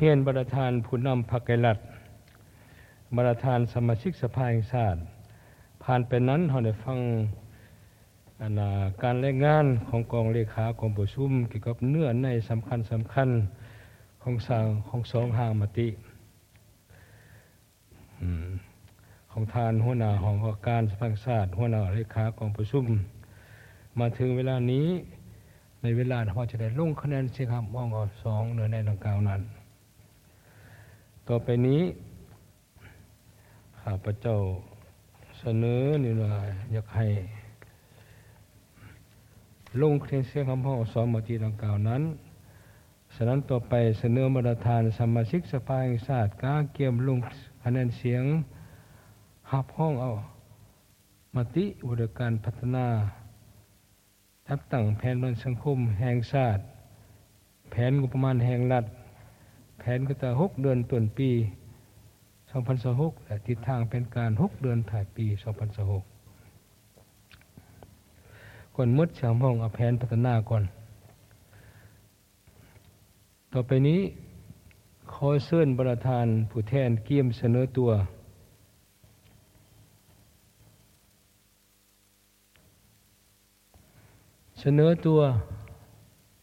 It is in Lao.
ຮຽນບັນດາທ່ານຜູ້ນຳພັກໄກລັດ, ບັນດາທ່ານສະມາຊິກສະພາແຫ່ງຊາດ, ຜ່ານໄປນັ້ນເຮົາໄດ້ຟັງ ອັນ ອາ ການລາຍງານຂອງກອງເລຂາກອງປະຊຸມກ່ຽວກັບເນື້ອໃນສຳຄັນໆຂອງສາງ ຂອງສອງຮ່າງມະຕິ ອືມ ຂອງທ່ານຫົວໜ້າຫ້ອງວ່າການສະພາແຫ່ງຊາດ, ຫົວໜ້າເລຂາກອງປະຊຸມ. ມາເຖິງເວລານີ້ ໃນເວລາເຮົາຈະໄດ້ລົງຄະແນນສຽງຮັບຮອງເອົາສອງເນື້ອໃນດັ່ງກ່າວນັ້ນ. ຕໍ່ໄປນີ້ ຂ້າພະເຈົ້າສະເໜີນີ້ວ່າ ຢາກໃຫ້ລົງຄະແນນສຽງຮັບຮອງເອົາສອງມະຕິດັ່ງກ່າວນັ້ນ. ສະນັ້ນ, ຕໍ່ໄປສະເໜີບັນດາທ່ານສະມາຊິກສະພາແຫ່ງຊາດ ກະກຽມລົງຄະແນນສຽງຮັບຮອງເອົາມະຕິວ່າດ້ວຍການພັດທະນາ ຈັດຕັ້ງແຜນພັດທະນາສັງຄົມແຫ່ງຊາດ, ແຜນງົບປະມານແຫ່ງລັດ, ແຜນກະຕະຫົກເດືອນຕົ້ນປີສອງພັນຊາວຫົກ ແລະ ທິດທາງແຜນການຫົກເດືອນທ້າຍປີສອງພັນຊາວຫົກ. ກ່ອນໝົດ, ສຽງຮັບຮອງເອົາແຜນພັດທະນາກ່ອນ. ຕໍ່ໄປນີ້ ຂໍເຊີນບັນດາທ່ານຜູ້ແທນກຽມສະເໜີຕົວ. ສະເໜີຕົວ